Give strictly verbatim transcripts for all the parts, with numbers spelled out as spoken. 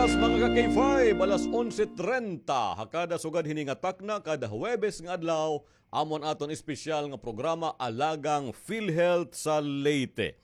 Mga ka-K five, alas onse trenta ha kada sugad hini nga takna, kada Huwebes nga adlaw, amo an aton espesyal nga programa, Alagang PhilHealth sa Leyte.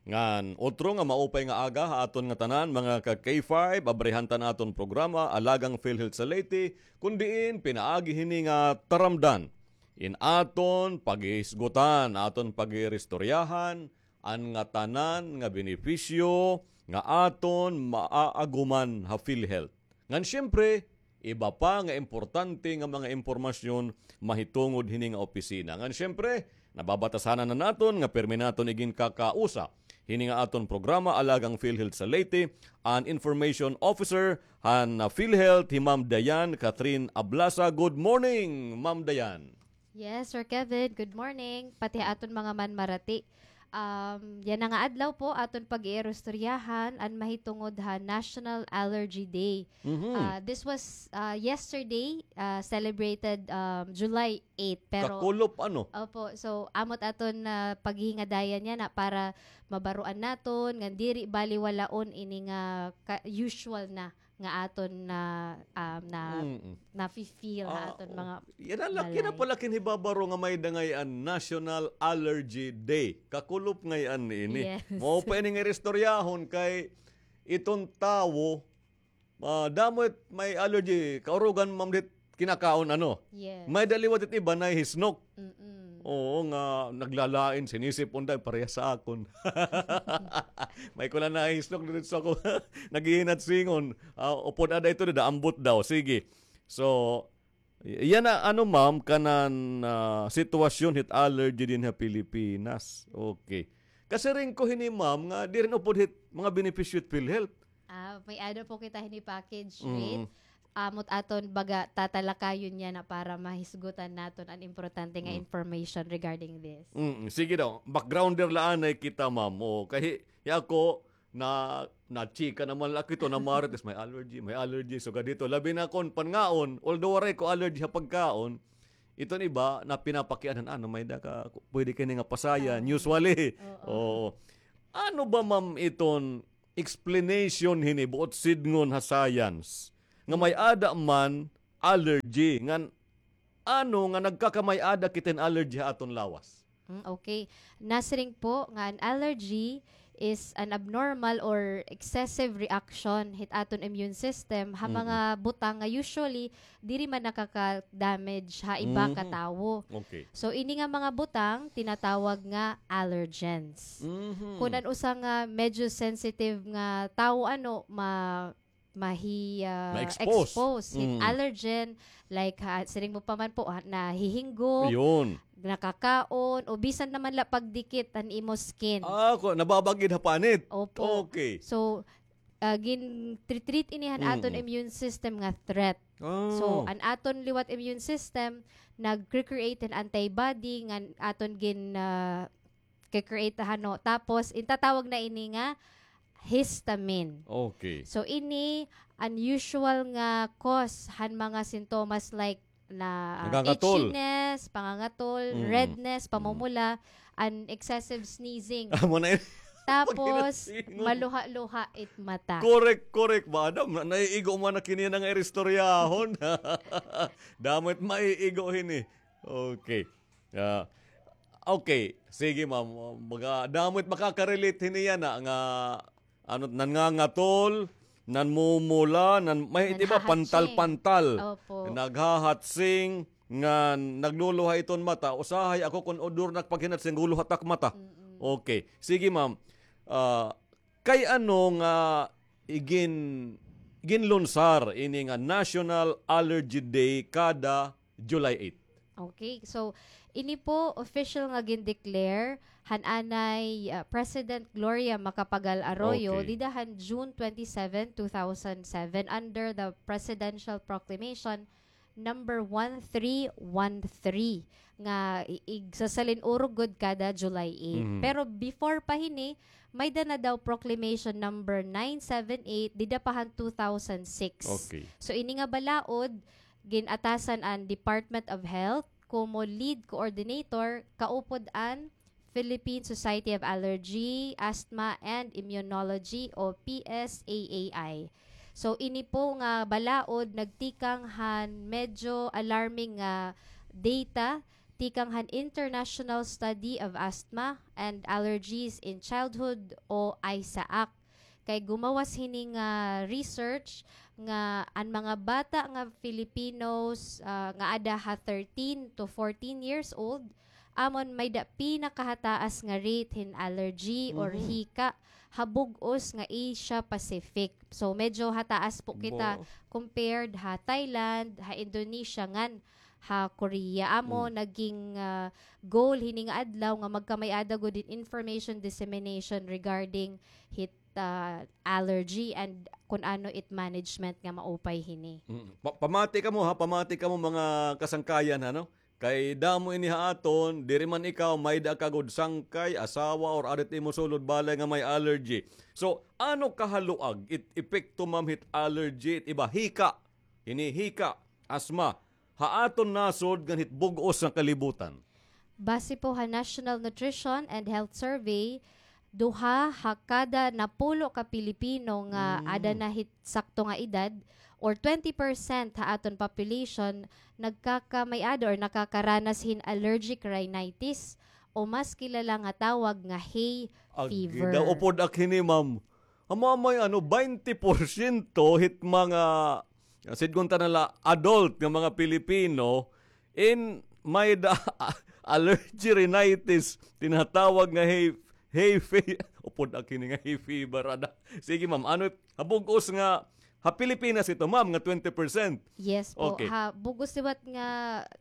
Ngan, otro nga maupay nga aga ha aton ngatanan, mga ka-K five, abrihan ta an aton programa, Alagang PhilHealth sa Leyte, kun diin pinaagi hini nga taramdan in aton paghihisgutan, aton pag-iiristoryahan, an ngatanan nga benepisyo nga aton maaaguman ha PhilHealth. Ngan siyempre, iba pa nga importante nga mga impormasyon mahitungod hini nga opisina. Ngan siyempre, nababatasanan na naton nga pirmi naton iginkakausa hini nga aton programa, Alagang PhilHealth sa Leyte, an Information Officer han PhilHealth, hi Ma'am Diane Catherine Ablasa. Good morning, Ma'am Diane. Yes, Sir Kevin. Good morning. Pati ha aton mga manmarati. Um, yana nga adlaw po, aton pag-iiristoryahan an mahitungod ha National Allergy Day. Mhm. Ah, this was, ah, yesterday, ah, celebrated, um, July eight. Pero Kakulop, ano? Opo. So, amo it aton, ah, paghingadayan yana para mabaroan naton nga diri baliwalaon ini nga ka-, usual na nga aton na, um, na, Mm-mm. nafi-feel ha Ah, aton mga yana la, yana balay. Pala kinhibabaro nga may-ada ngay-an National Allergy Day. Kakulop ngay-an niini. Yes. Mao pa ini nga iristoryahon kay iton tawo, ah, damo it may allergy, kaurugan, ma'am, dit kinakaon, ano? Yes. May-ada liwat it iba nahihisnok. Mm-mm. Oo, nga naglalain, sinisip, unday, parehas sa akon. May ko la nahihisnok didto sa ako. Naghihinatsingon. Ah, upod ada ito, dida, ambot daw. Sige. So, y-, yana, ano, ma'am, kanan, ah, sitwasyon hit allergy dinhi ha Pilipinas. Okay. Kasiring ko hini, ma'am, nga diri upod hit mga benepisyo hit PhilHealth. Ah, may-ada po kita hini package, mm, with, amo it aton baga tatalakayon yana para mahisgutan naton an importante nga, mm, information regarding this. Mm, sige daw, backgrounder la anay kita, ma'am. O, kay hi ako, na, nachika naman la ako ito, namarites, may allergy, may allergy. So, ganito, labi na kon pangaon, although waray ko allergy ha pagkaon, iton iba na pinapakianhan, ano, may-ada ka, pwede kini nga pasayan, ah, usually. Oo. Oo. Ano ba, ma'am, iton explanation hini, buot sidngon ha science, nga may-ada man allergy, ngan ano nga nagkakamay-ada kita hin allergy ha aton lawas? Mm, okay. Nasiring po nga an allergy is an abnormal or excessive reaction hit aton immune system ha, mm, mga butang nga usually diri man nakaka-damage ha iba, mhm, ka tawo. Okay. So, ini nga mga butang tinatawag nga allergens. Mhm. Kun an usa nga medyo sensitive nga tawo, ano, ma-, mahi-, ah, ma-expose, expose hit, mm, allergen, like, ha, siring mo pa man po, ha, nahihinggo, ayun, nakakaon, o bisan naman la pagdikit an imo skin. Ah, ko, nababagid ha panit. Opo. Okay. So, ah, gin-treat ini han, mm, aton immune system nga threat. Ah. So, an aton liwat immune system, nag-create hin antibody nga aton gin-, ah, kikreate, ano. Tapos, intatawag na ini nga histamine. Okay. So, ini unusual nga cause han mga sintomas like na, ah, nangangatol, itchiness, pangangatol, mm, redness, mm, pamumula, and excessive sneezing. Amo na yun. Tapos, pag-inatsingon, maluha-luha it mata. Correct, correct. Ba, Adam, na-, naiigo man na kini nga iristoryahon. Damo it maiigo hini. Okay. Ah, okay. Sige, ma'am. Baga, damo it makaka-relate hini yana nga, ano, nangangatol, nanmumula, nan-, may, di ba, naghahatsing, pantal-pantal. Opo. Naghahatsing, nga nagluluha iton mata. Usahay ako kun odor na pag-hinatsing, guluha it ak mata. Mm-mm. Okay. Sige, ma'am. Ah, kay ano nga igin-, ginlunsar ini nga National Allergy Day kada July eight? Okay. So, ini po official nga gin-declare han anay, ah, President Gloria Macapagal Arroyo, okay, dida han June twenty-seven, two thousand seven, under the Presidential Proclamation number one three one three nga i-, igsasalin-urog gud kada July eight. Mhm. Pero before pa hini, may-ada na daw Proclamation number nine seven eight, dida pa han two thousand six. Okay. So, ini nga balaod, gin-atasan an Department of Health, komo lead coordinator, kaupod an Philippine Society of Allergy, Asthma, and Immunology o P S A A I. So, ini po nga balaod nagtikang han medyo alarming nga data tikang han International Study of Asthma and Allergies in Childhood o ISAAC. Kay gumawas hini nga research nga an mga bata nga Filipinos, ah, nga ada ha thirteen to fourteen years old, amon may da pinakahataas nga rate hin allergy or hika ha bug-os nga Asia Pacific. So, medyo hataas po kita compared ha Thailand, ha Indonesia, ngan ha Korea. Amo naging, ah, goal hini nga adlaw nga magkamay-ada gud hin information dissemination regarding hit, ah, allergy and kun ano it management nga maupay hini. Mm. Pa-, pamati kamo ha, pamati kamo mga kasangkayan ha, no? Kay damo ini ha aton, diri man ikaw, may-ada ka gud sangkay, asawa, or ada it imo sulod balay nga may allergy. So, ano kahaluag it epekto, ma'am, hit allergy, it iba, hika, hini hika, asma, ha aton nasod ngan hit bug-os nga kalibutan? Base po ha National Nutrition and Health Survey, duha ha kada napulo ka Pilipino nga ada na hit sakto nga edad, or twenty percent ha aton population, nagkakamay-ada or nakakaranas hin allergic rhinitis, o mas kilala nga tawag nga hay fever. Agi daw, upod ak hini, ma'am. Amo may ano, baynte porsyento hit mga, sidngon ta na la, adult nga mga Pilipino, in may da allergy rhinitis, tinatawag nga hay, hay fe-, upod ak hini nga hay fever, ada. Sige, ma'am, ano, ha bug-os nga, ha Pilipinas ito, ma'am, nga twenty percent? Yes po. Okay. Ha bug-os liwat nga,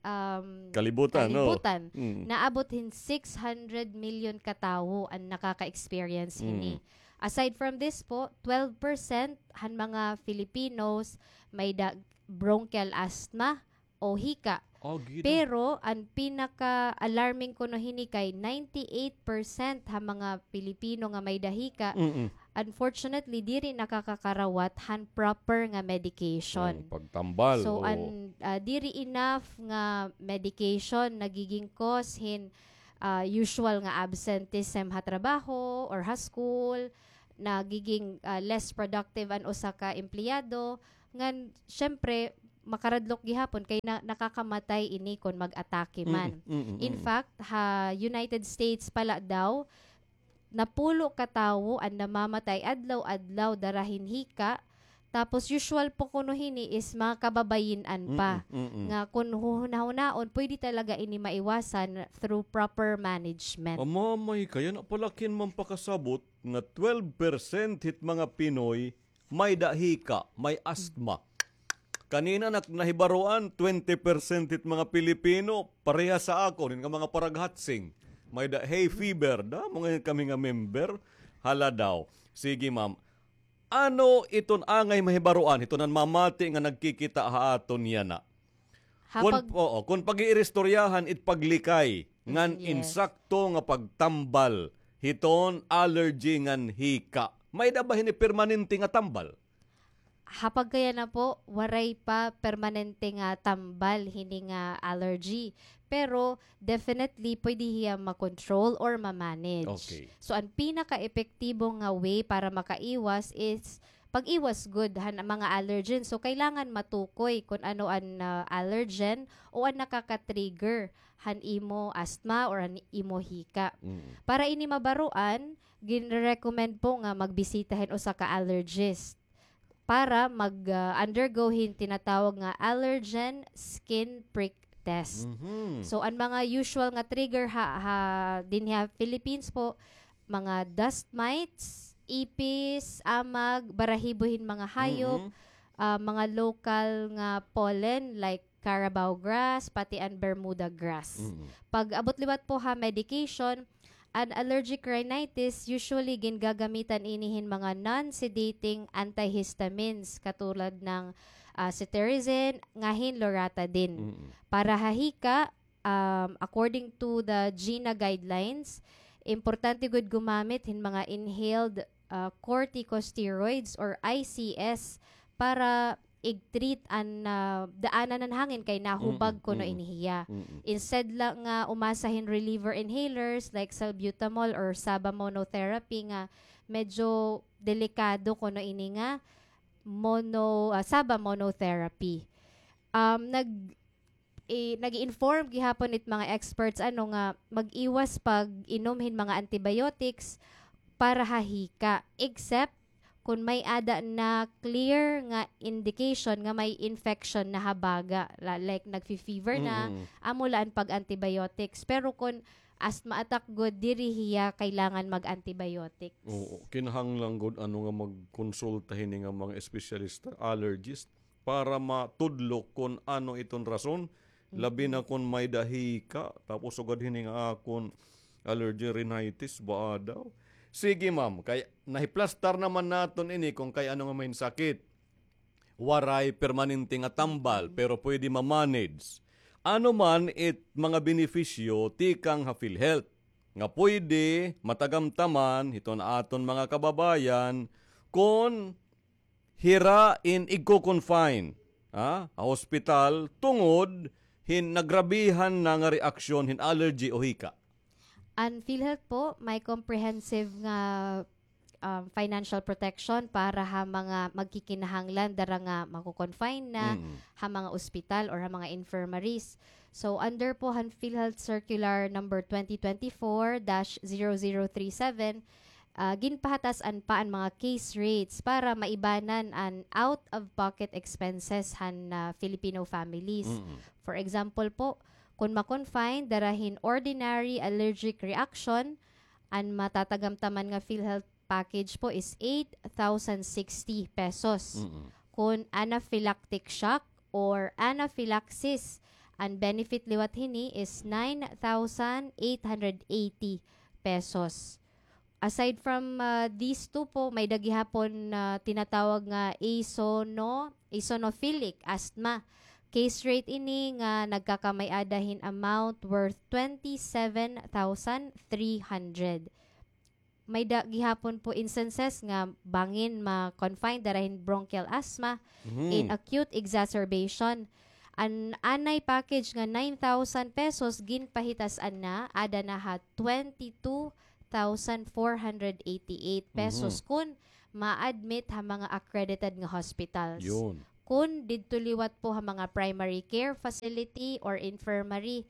um, kalibutan, no? Kalibutan, mm, naabot hin six hundred million ka tawo an nakaka-experience hini. Mm. Aside from this po, twelve percent han mga Filipinos may da bronchial asthma o hika. Ah, gid. Pero an pinaka-alarming kuno hini kay ninety-eight percent ha mga Pilipino nga may da hika, mm-mm, unfortunately, diri nakakakarawat han proper nga medication. Oh, pagtambal, oo. So, an, ah, diri enough nga medication nagiging cause hin ah, usual nga absenteeism ha trabaho or ha school, nagiging, ah, less productive an usa ka empleyado, ngan, syempre, makaradlok gihapon kay na-, nakakamatay ini kon mag-atake man. Mm, mm, mm. In fact, ha United States pa la daw, napulo ka tawo an namamatay adlaw-adlaw dara hin hika, tapos usual po kuno hini is mga kababayin-an pa, mm-mm, mm-mm, nga kon huhunahunaon, pwede talaga ini maiwasan through proper management. Amamay, kay yana pala kin man pakasabot nga twelve percent hit mga Pinoy may da hika, may asthma. Kanina nak-, nahibaroan, twenty percent hit mga Pilipino, parehas ha akon, hin nga mga paraghatsing, may da hay fever, damo ngay-an kami nga member, hala daw. Sige, ma'am. Ano iton angay mahibaroan hiton namamati nga nagkikita ha aton yana? Ha kon, pag- oo, kon pag-iiristoryahan it paglikay ngan, mm, yes, insakto nga pagtambal hiton allergy ngan hika. May da ba hini permanente nga tambal? Ha pagkayana po, waray pa permanente nga tambal hini nga allergy. Pero definitely, pwede hiya ma-control or ma-manage. Okay. So, an pinaka-epektibo nga way para makaiwas is pag-iwas gud han mga allergen. So, kailangan matukoy kon ano an, ah, allergen o an nakaka-trigger han imo asthma or an imo hika. Mm. Para ini mabaroan, ginre-recommend po nga magbisita hin usa ka allergist para mag, ah, undergo hin tinatawag nga allergen skin prick test. Mhm. So, an mga usual nga trigger ha, ha, dinhi ha Philippines po, mga dust mites, ipis, amag, barahibo hin mga hayop, mm-mm, ah, mga local nga pollen like carabao grass, pati an Bermuda grass. Mm-mm. Pag-abot liwat po ha medication, an allergic rhinitis, usually gingagamitan ini hin mga non-sedating antihistamines katulad ng, ah, cetirizine, ngan hin loratadine. Mm-mm. Para ha hika, um, according to the GINA guidelines, importante gud gumamit hin mga inhaled, ah, corticosteroids or I C S para ig-treat an, ah, daanan han hangin kay nahubag kuno ini hiya. Mm-mm. Instead la nga umasa hin reliever inhalers like salbutamol or saba monotherapy nga medyo delikado kuno ini nga mono, ah, SABA monotherapy. Um, nag-, eh, nag-i-inform gihapon it mga experts, ano, nga mag-iwas pag-inom hin mga antibiotics para ha hika, except kon may-ada na clear nga indication nga may infection na ha baga, la-, like nagfi-fever na, amo la an pag-antibiotics. Pero kon asthma attack gud, diri hiya kailangan mag-antibiotics. Oo, kinahanglan gud, ano, nga magkonsulta hini nga mga espesyalista, allergist, para matudlo kon ano iton rason, labi na kon may-ada hika, tapos sugad hini nga akon allergy rhinitis, baa daw. Sige, ma'am, kay nahiplastar naman naton ini kon kay ano nga may sakit. Waray permanente nga tambal, pero pwede ma-manage. Ano man it mga benepisyo tikang ha PhilHealth nga pwede matagamtaman hiton aton mga kababayan kon hira in igko-confine, ha, ha hospital tungod hin nagrabihan na nga reaksyon hin allergy o hika? An PhilHealth po, may comprehensive nga, um, financial protection para ha mga magkikinahanglan dara nga mako-confine na ha mga ospital or ha mga infirmaries. So, under po han PhilHealth Circular Number twenty twenty-four dash zero zero three seven, ah, ginpahatas-an pa an mga case rates para maibanan an out-of-pocket expenses han, ah, Filipino families. For example po, kon ma-confine dara hin ordinary allergic reaction, an matatagamtaman nga PhilHealth package po is eight thousand sixty pesos. Kon anaphylactic shock or anaphylaxis, an benefit liwat hini is nine thousand eight hundred eighty pesos. Aside from, ah, these two po, may-ada gihapon na tinatawag nga eosino-, eosinophilic asthma. Case rate ini nga nagkakamay-ada hin amount worth twenty-seven thousand three hundred. May-ada gihapon po instances nga bangin ma-confine dara hin bronchial asthma in acute exacerbation. An anay package nga nine thousand pesos ginpahitas-an na, ada na ha twenty-two thousand four hundred eighty-eight pesos kon ma-admit ha mga accredited nga hospitals. Kon didto liwat po ha mga primary care facility or infirmary,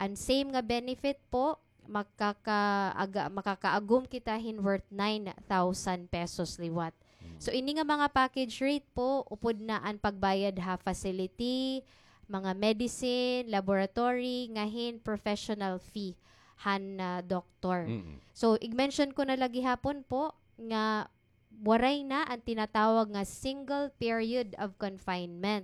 an same nga benefit po, makakaaga-, makakaagom kita hin worth nine thousand pesos liwat. So, ini nga mga package rate po, upod na an pagbayad ha facility, mga medicine, laboratory, nga hin professional fee han, ah, doktor. So, ig-mention ko na la gihapon po nga waray na an tinatawag nga single period of confinement.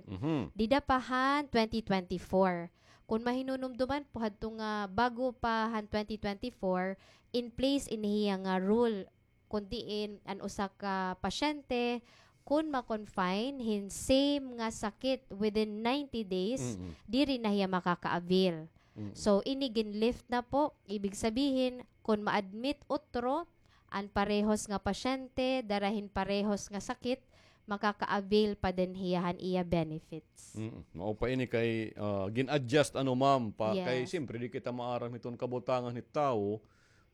Dida pa han twenty twenty-four. Kon mahinunumduman po, hadto nga bago pa han twenty twenty-four, in place ini hiya nga rule, kon diin an usa ka pasyente, kon ma-confine hin same nga sakit within ninety days, diri na hiya makaka-avail. So, ini gin-lift na po, ibig sabihin, kon ma-admit utro, an parehos nga pasyente, dara hin parehos nga sakit, makaka-avail pa din hiya han iya benefits. Mm, mao pa ini kay, ah, gin-adjust, ano, ma'am, pa kay siyempre di kita maaram hiton kabutangan hit tawo,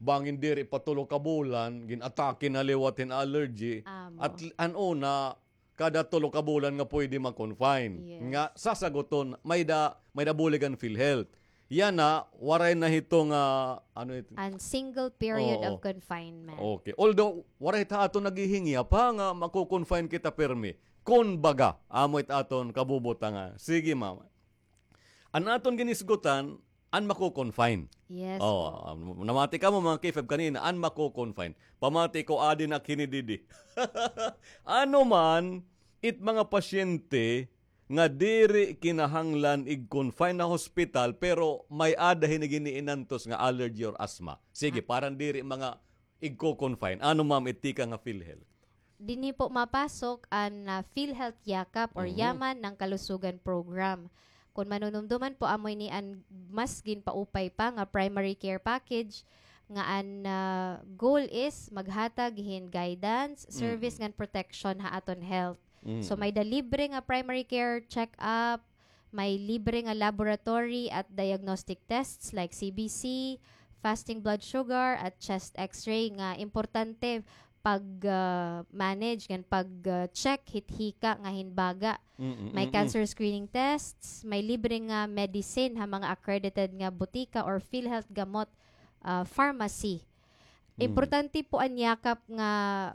bangin diri pa tulo ka bulan, gin-atake na liwat hin allergy. At l-, an una, kada tulo ka bulan nga pwede ma-confine. Nga sasaguton, may-ada, may-ada bulig an PhilHealth. Yana, waray na hito nga, ano ito? An single period of confinement. Okay. Although, waray ta aton naghihingyap, ha, nga mako-confine kita pirmi. Kon baga, amo it aton kabubutangan. Sige, ma'am. An aton ginisgutan, an mako-confine. Yes po. Namati kamo, mga K five, kanina, an mako-confine. Pamati ko, adi na kini didi. Ano man it mga pasyente nga diri kinahanglan ig-confine ha hospital, pero may-ada hini gin-iinantos nga allergy or asthma. Sige, parang diri mga igko-confine. Ano, ma'am, it tikang ha PhilHealth? Dinhi po mapasok an, ah, PhilHealth Yakap or Yaman ng Kalusugan Program. Kon manunumduman po, amo ini an mas ginpaupay pa nga primary care package nga an, ah, goal is maghatag hin guidance, service ngan protection ha aton health. So, may-ada libre nga primary care check-up, may libre nga laboratory at diagnostic tests like C B C, fasting blood sugar, at chest X-ray nga importante pag, ah, manage ngan pag, ah, check hit hika nga hin baga. Mm, mm, mm, mm. May cancer screening tests, may libre nga medicine ha mga accredited nga butika or PhilHealth gamot, ah, pharmacy. Mm. Importante po an yakap nga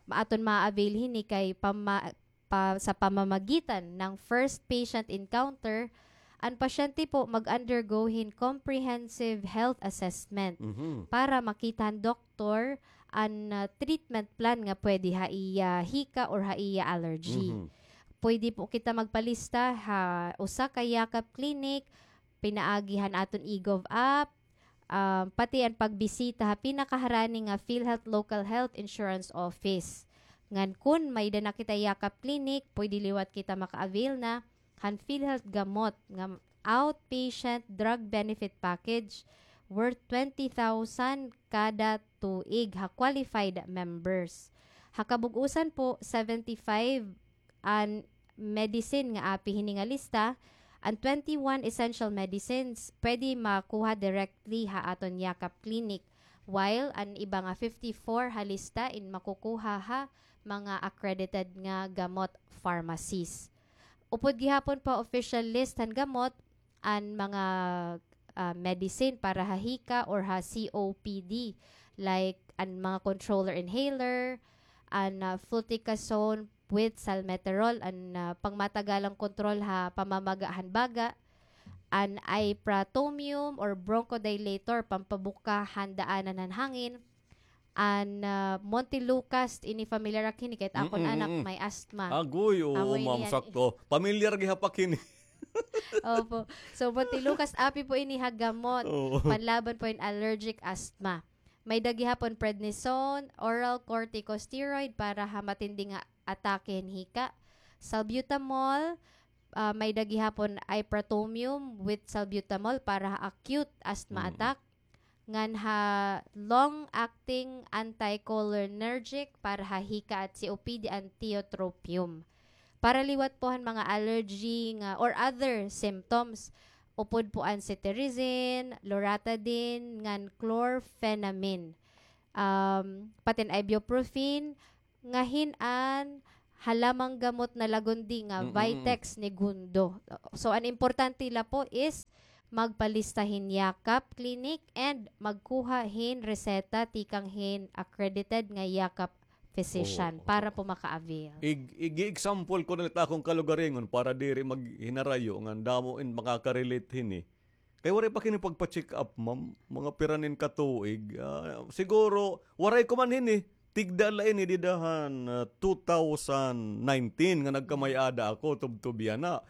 aton ma-avail hini kay pama-, pa, sa pamamagitan ng first patient encounter, an pasyente po mag-undergo hin comprehensive health assessment Mhm. para makita han doktor an, ah, treatment plan nga pwede ha iya hika or ha iya allergy. Mhm. Pwede po kita magpalista ha usa ka Yakap Clinic, pinaagi han aton eGov app, ah, pati an pagbisita ha pinakaharani nga PhilHealth Local Health Insurance Office. Ngan kun may-ada na kita Yakap Clinic, pwede liwat kita maka-avail na han PhilHealth gamot nga outpatient drug benefit package worth twenty thousand kada tuig ha qualified members. Ha kabug-usan po, seventy-five an medicine nga api hini nga lista, an twenty-one essential medicines pwede makuha directly ha aton Yakap Clinic, while an iba nga fifty-four ha lista in makukuha ha mga accredited nga gamot pharmacies. Upod gihapon pa official list han gamot, an mga, ah, medicine para ha hika or ha C O P D, like an mga controller inhaler, an, ah, fluticasone with salmeterol, an, ah, pangmatagalang kontrol ha pamamaga han baga, an ipratomium or bronchodilator, pampabuka han daanan han hangin, an, ah, Montelukast, ini familiar ak hini kay it akon Mm, mm, anak mm. may asthma. Agoy, oo, Amo ini ma'am, an sakto. Pamilyar gihap ak hini. Opo. So, Montelukast api po ini ha gamot. Oo. Panlaban po hin allergic asthma. May-ada gihapon prednisone, oral corticosteroid para ha matindi nga atake hin hika. Salbutamol, ah, may-ada gihapon ipratomium with salbutamol para ha acute asthma Mm. attack. Ngan ha long-acting anticholinergic para ha hika at C O P D an tiotropium. Para liwat po han mga allergy nga or other symptoms, upod po an cetirizine, loratadine, ngan chlorphenamine. Um, pati an ibuprofen, nga hin-an ha lamang gamot na lagundi nga Mm, mm, mm. Vitex Negundo. So, an importante la po is magpalista hin Yakap Clinic and magkuha hin reseta tikang hin accredited nga Yakap physician Oo, oo. para po maka-avail. Ig-, ig-example ko na la it akon kalugaringon para diri maghinarayo ngan damo in makaka-relate hini. Kay waray pa kini pagpa-check up, ma'am. Mga pira nin katuig. Ah, siguro, waray ko man hini. Tigda la ini dida han, ah, two thousand nineteen nga nagkamay-ada ako, tubtob yana.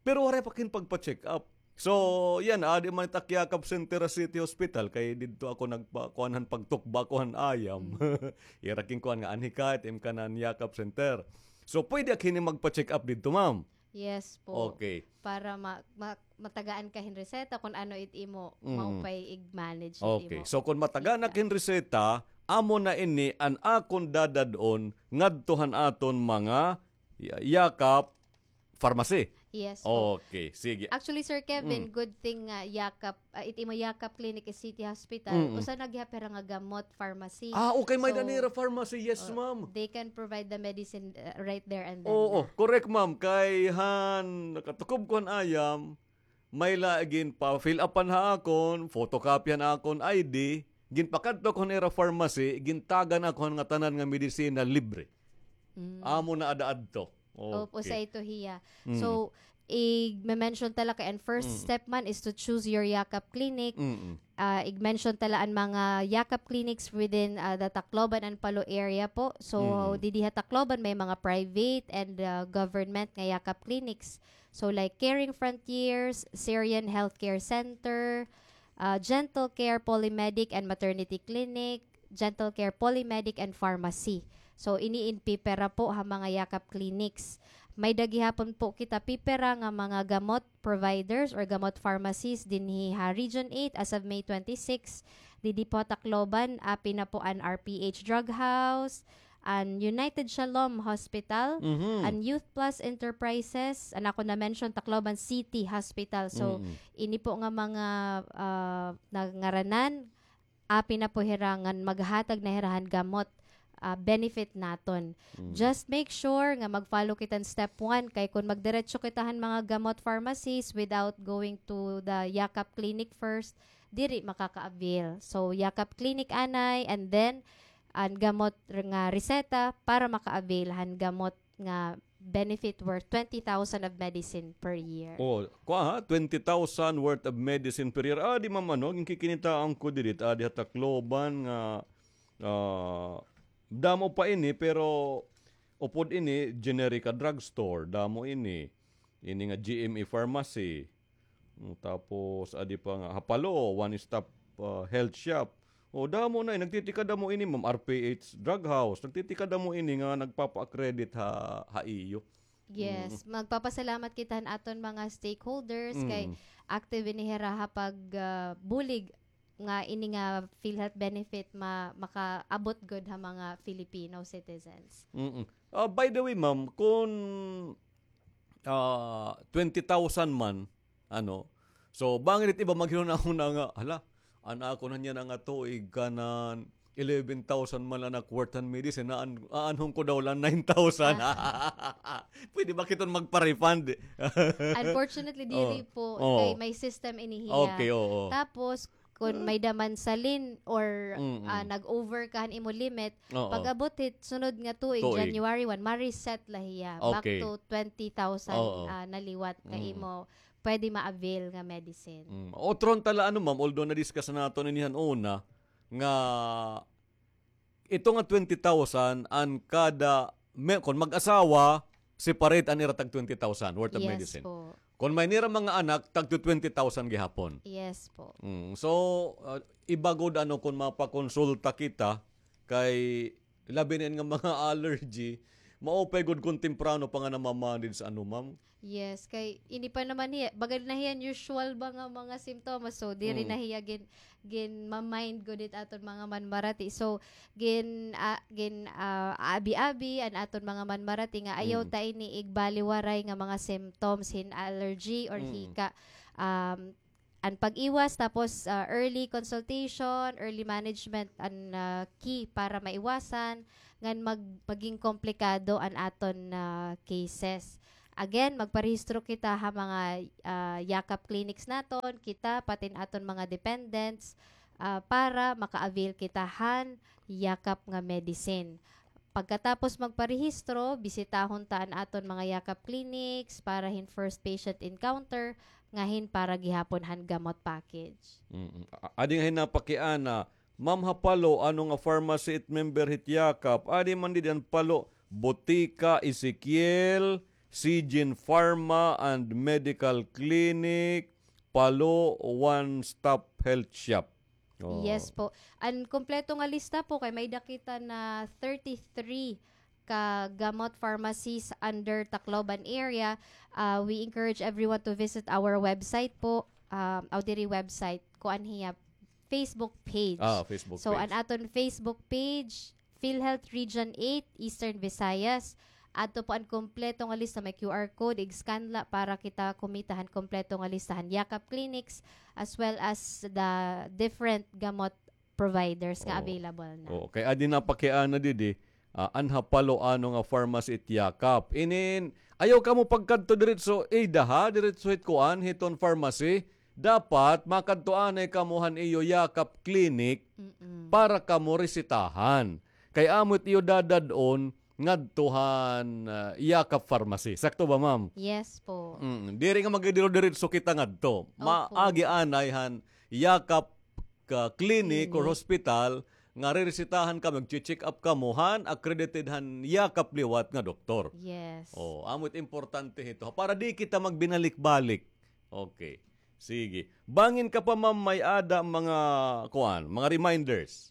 Pero waray pa kini pagpa-check up. So, yana, adi man it ak Yakap Center ha City Hospital, kay didto ako nagpa-, kuan han pagtukba ko han ayam. Mm. Ira kin kuan nga anhi ka, it im kanan Yakap Center. So, pwede ak hini magpa-check up didto, ma'am? Yes po. Okay. Para ma-, ma-, matagaan ka hin reseta kun ano it imo Mm. maupay ig-manage it Okay. imo. So, kun matagaan Kita. ak hin reseta, amo na ini an akon dadad-on ngadto han aton mga ya-, Yakap Pharmacy. Yes po. Okay, sige. Actually, Sir Kevin, Mm. good thing nga Yakap, ah, it imo Yakap Clinic is City Hospital. Mm. Usa na gihap hira nga gamot pharmacy. Ah, okay, may So, danira pharmacy. Yes, oh, ma'am. they can provide the medicine, uh, right there and then Oo, na. correct, ma'am. Kay han, nakatukob ko han ayam, may la ginpa-fill upan ha akon, photocopy han akon I D, ginpakadto ko han ira pharmacy, gintagan ako han ngatanan nga medisina libre. Mm. Amo na ada adto. Opo, Okay. sa ito hiya. Mm. So, ig-mention ta la kay an first Mm. step man is to choose your Yakap Clinic. Mm-mm. Ah, ig-mention ta la an mga Yakap Clinics within, ah, the Tacloban and Palo area po. So, Mm. didi ha Tacloban may mga private and, ah, government nga Yakap Clinics. So, like Caring Frontiers, Syrian Healthcare Center, ah, Gentle Care Polymedic and Maternity Clinic, Gentle Care Polymedic and Pharmacy. So, ini in pipira po ha mga Yakap Clinics. May-ada gihapon po kita pipira nga mga gamot providers or gamot pharmacies dinhi ha Region eight as of May twenty-six. Didi po ha Tacloban, api na po an R P H Drug House, an United Shalom Hospital, Mhm. an Youth Plus Enterprises, an ako na-mention, Tacloban City Hospital. So, Mm. ini po nga mga, ah, nangaranan, api na po hira ngan maghatag na hira han gamot, ah, benefit naton. Just make sure nga mag-follow kita han step one, kay kon magdiretso kita han mga gamot pharmacies without going to the Yakap clinic first, diri makaka-avail. So, Yakap clinic anay, and then an gamot r-, nga reseta para maka-avail han gamot nga benefit worth twenty thousand of medicine per year. Oh, kuan ha, twenty thousand worth of medicine per year. Adi, ma'am, ano, ginkikinitaan ko diri, adi ha Tacloban nga, ah, damo pa ini, pero upod ini, generic a drugstore, damo ini. Ini nga G M E pharmacy. Mm, tapos, adi pa nga, ha Palo, One Stop, ah, Health Shop. O, damo na, eh. Nagtitikadamo ini, ma'am, R P H Drug House. Nagtitikadamo ini nga nagpapa-accredit ha, ha iyo. Yes, magpapasalamat kita han aton mga stakeholders kay active ini hira ha pag, ah, bulig nga ini nga PhilHealth benefit ma-, makaabot gud ha mga Filipino citizens. Mm-mm. Ah, by the way, ma'am, kun, ah, twenty thousand man, ano, so, bangin it iba maghunahuna nga, "Hala, an akon han yana nga tuig kanan eleven thousand man la an ak worth han medicine, aan-, aanhon ko daw la nine thousand." Pwede ba kiton magpa-refund? Unfortunately, diri po. Kay may system ini hiya. Okay, oo. Tapos, kun may-ada man salin or, ah, nag-over ka han imo limit, pag-abot hit sunod nga tuig, January one, ma-reset la hiya. Back to twenty thousand, ah, na liwat nga imo pwede ma-avail nga medicine. Mm. Otro unta la, ano, ma'am, although na-discuss naton ini han una, nga ito nga twenty thousand an kada me-, kon mag-asawa, separate an ira tag twenty thousand worth of medicine. Yes po. Kon may nira mga anak, tagto twenty thousand gihapon. Yes po. Mm. So, ah, iba gud, ano, kon mapakonsulta kita, kay labi na ini nga mga allergy, maupay gud kon temprano pa nga namamanage, ano, ma'am? Yes, kay ini pa naman hiya, baga na hiya usual ba nga mga simptomas, so diri na hiya gin-, ginma-mind gud it aton mga manmarati. So, gin-, ah, gin-, ah, abi-abi an aton mga manmarati nga ayaw ta ini igbaliwaray nga mga symptoms hin allergy or hika. Um, an pag-iwas, tapos, ah, early consultation, early management, an, ah, key para maiwasan ngan mag-, maging komplikado an aton, ah, cases. Again, magparehistro kita ha mga, ah, Yakap clinics naton, kita, pati an aton mga dependents, ah, para maka-avail kita han Yakap nga medicine. Pagkatapos magparehistro, bisitahon ta an aton mga Yakap clinics para hin first patient encounter, nga hin para gihapon han gamot package. Mm-mm. A-, adi nga hin napakiana, Ma'am, ha Palo, ano nga pharmacy it member hit Yakap? Adi man didi an Palo, Botika Ezekiel, Sijin Pharma and Medical Clinic, Palo One Stop Health Shop. Oh. Yes po. An kompleto nga lista po kay may-ada kita na thirty-three ka gamot pharmacies under Tacloban area. Ah, we encourage everyone to visit our website po. Um, aw, diri website, kuan hiya, Facebook page. Ah, Facebook page. So, an aton Facebook page, PhilHealth Region eight, Eastern Visayas. Adto po an kompleto nga lista, may Q R code, ig-scan la para kita kumita han kompleto nga lista han Yakap clinics as well as the different gamot providers nga available na. Oo, kay adi napakiana didi, ah, an ha Palo ano nga pharmacy it Yakap. Inin, ayaw kamo pagkadto diretso, eh, daha, diretso hit kuan, hiton pharmacy. Dapat makadto anay kamo han iyo Yakap clinic para kamo resetahan. Kay amo it iyo dadad-on ngadto han, ah, Yakap pharmacy. Sakto ba, ma'am? Yes po. Mm, diri nga magdidiro-diretso kita ngadto. Opo. Maagi anay han Yakap ka clinic or hospital nga reresetahan kamo, magche-check up kamo han accredited han Yakap liwat nga doktor. Yes. Oh, amo it importante hito. Para di kita magbinalik-balik. Okay. Sige. Bangin ka pa, ma'am, may-ada mga, kuan, mga reminders?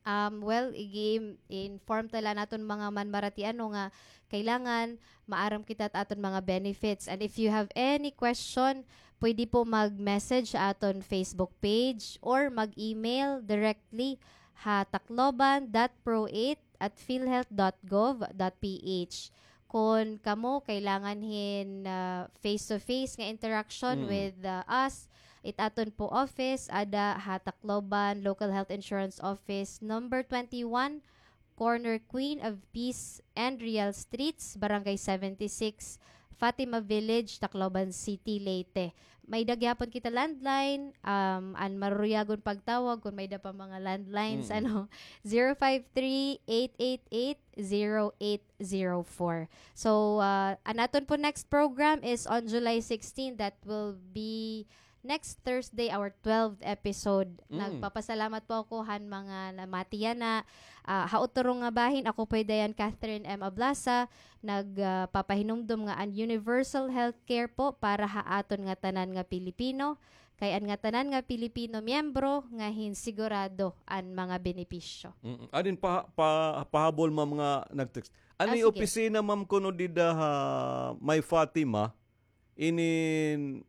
Um, well, igi-inform ta la an aton mga manmarati ano nga kailangan maaram kita hit aton mga benefits. And if you have any question, pwede po mag-message ha aton Facebook page or mag-email directly ha tacloban dot pro eight at philhealth dot gov dot ph. Kon kamo kailangan hin, ah, face-to-face nga interaction with, ah, us, it aton po office, ada ha Tacloban Local Health Insurance Office number twenty-one, corner Queen of Peace and Real Streets, Barangay seventy-six, Fatima Village, Tacloban City, Leyte. May-ada gihapon kita landline, um, an maruruyagon pagtawag kon may-ada pa mga landlines, Mm. ano, zero five three, eight eight eight, zero eight zero four. So, ah, an aton po next program is on July sixteen. That will be next Thursday, our twelfth episode. Mm. Nagpapasalamat po ako han mga namati yana. Ah, ha utro nga bahin, ako po hi Dayan Catherine M. Ablasa, nag, ah, papahinumdom nga an universal healthcare po para ha aton nga tanan nga Pilipino. Kay an nga tanan nga Pilipino miyembro nga hin sigurado an mga benepisyo. Mm. Adin pa, pa, pahabol, ma'am, nga nag-text. Ano Ah, yung sige. opisina, ma'am, kuno dida ha may Fatima? Inin,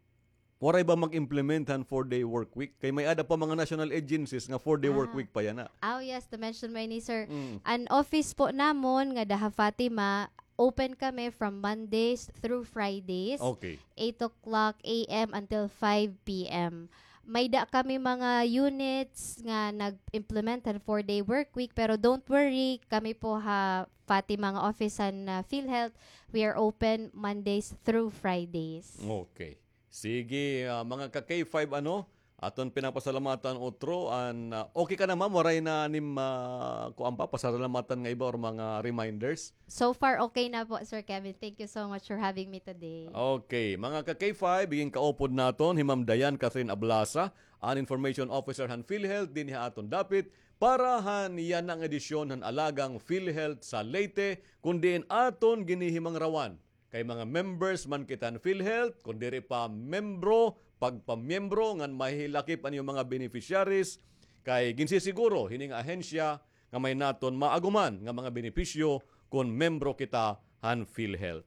waray ba mag-implement han four-day work week? Kay may-ada pa mga national agencies nga four-day work Ah. week pa yana. Oh, yes, to mention mo ini, sir. Mm. An office po namon ngada ha Fatima, open kami from Mondays through Fridays, Okay. eight o'clock A M until five P M. May-ada kami mga units nga nag-implement han four-day work week, pero don't worry, kami po ha Fatima nga office han, ah, PhilHealth, we are open Mondays through Fridays. Okay. Sige, ah, mga ka-K five, ano, aton pinapasalamatan utro an, ah, okay ka na, ma'am? Waray na nim, ah, kuan pa, pasalamatan nga iba or mga reminders? So far, okay na po, Sir Kevin. Thank you so much for having me today. Okay, mga ka-K five, igin kaupod naton hi Ma'am Dayan Catherine Ablasa, an Information Officer han PhilHealth dinhi ha aton dapit para han yana nga edisyon han Alagang PhilHealth sa Leyte, kon diin aton ginihimangrawan kay mga members man kita han PhilHealth, kon diri pa membro, pagpamiyembro ngan mahilakip an iyo mga beneficiaries, kay ginsisiguro hini nga ahensya nga may naton maaguman nga mga benepisyo kon membro kita han PhilHealth.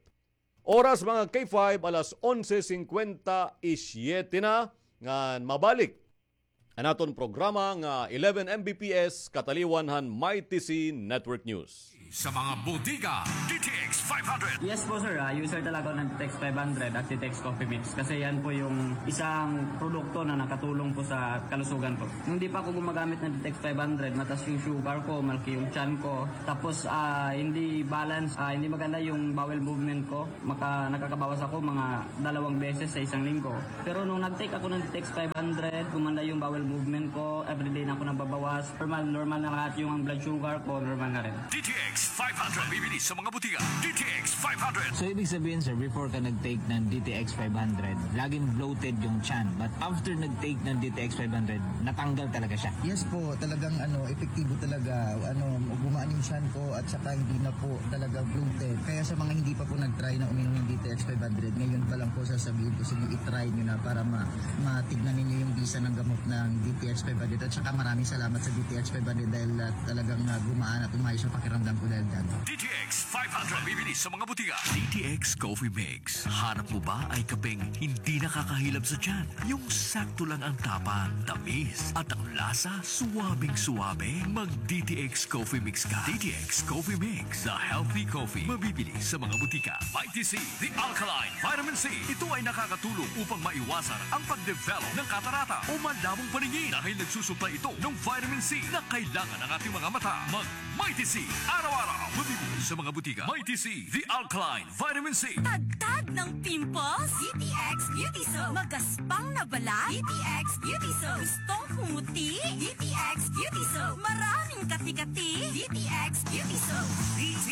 Oras, mga K five, alas onse singkwenta y siyete na, ngan mabalik an aton programa nga eleven M B P S, kataliwan han Mighty C Network News. Sa mga botika, D T X five hundred. Yes po, sir. Ah, user talaga ako ng D T X five hundred at D T X Coffee Mix kasi yan po yung isang produkto na nakatulong po sa kalusugan ko. Nung di pa ako gumagamit ng D T X five hundred, mataas yung sugar ko, malaki yung tiyan ko. Tapos, ah, hindi balance, ah, hindi maganda yung bowel movement ko. Maka-, nakakabawas ako mga dalawang beses sa isang linggo. Pero nung nag-take ako ng D T X five hundred, gumanda yung bowel movement ko, everyday na ako nagbabawas. Normal, normal na lahat yung ang blood sugar ko, normal na rin. D T X five hundred. Mabibili sa mga botika. D T X five hundred. So, ibig sabihin, sir, before ka nag-take ng D T X five hundred, laging bloated yung tiyan. But after nag-take ng D T X five hundred, natanggal talaga siya? Yes po, talagang ano, epektibo talaga. Ano, gumaan yung tiyan ko at saka hindi na po talaga bloated. Kaya sa mga hindi pa po nag-try na uminom ng D T X five hundred, ngayon pa lang po sasabihin ko sa inyo, i-try nyo na para ma-, matignan ninyo yung bisa ng gamot ng D T X five hundred. At saka maraming salamat sa D T X five hundred dahil, ah, talagang, ah, gumaan at umayos ang pakiramdam ko dahil dyan. D T X five hundred. Mabibili sa mga botika. D T X Coffee Mix. Hanap mo ba ay kapeng hindi nakakahilab sa tiyan? Yung sakto lang ang tapang, tamis, at ang lasa, suwabing-suwabe? Mag D T X Coffee Mix ka. D T X Coffee Mix, the healthy coffee. Mabibili sa mga botika. Mighty C, the alkaline vitamin C. Ito ay nakakatulong upang maiwasan ang pag-develop ng katarata o malamong paningin dahil nagsusuplay ito ng vitamin C na kailangan ng ating mga mata. Mag Mighty C, araw-araw. Mabibili sa mga botika. Mighty C, the alkaline vitamin C. Tagtag ng pimples? D T X Beauty Soap. Magaspang na balat? D T X Beauty Soap. Gustong pumuti? D T X Beauty Soap. Maraming kati-kati? D T X Beauty Soap. D T